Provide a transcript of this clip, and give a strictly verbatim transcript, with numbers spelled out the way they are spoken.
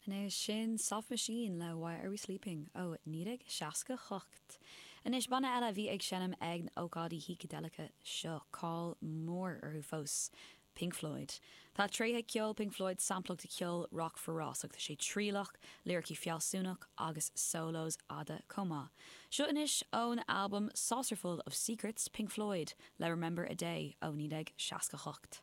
Anois sin Soft Machine le Why Are We Sleeping ó naoi déag seasca hocht. Anois banna eile bhí ag seinm ag na ócáidí shícideileacha seo cáil mór orthu fós. Pink Floyd. Tá tréithe ceol Pink Floyd samplach de cheol rock forásach tá sé trialach, liricí fealsúnach agus solos fhada chomh maith. Seo anois ón album Saucerful of Secrets Pink Floyd le Remember a Day ó naoi déag seasca hocht.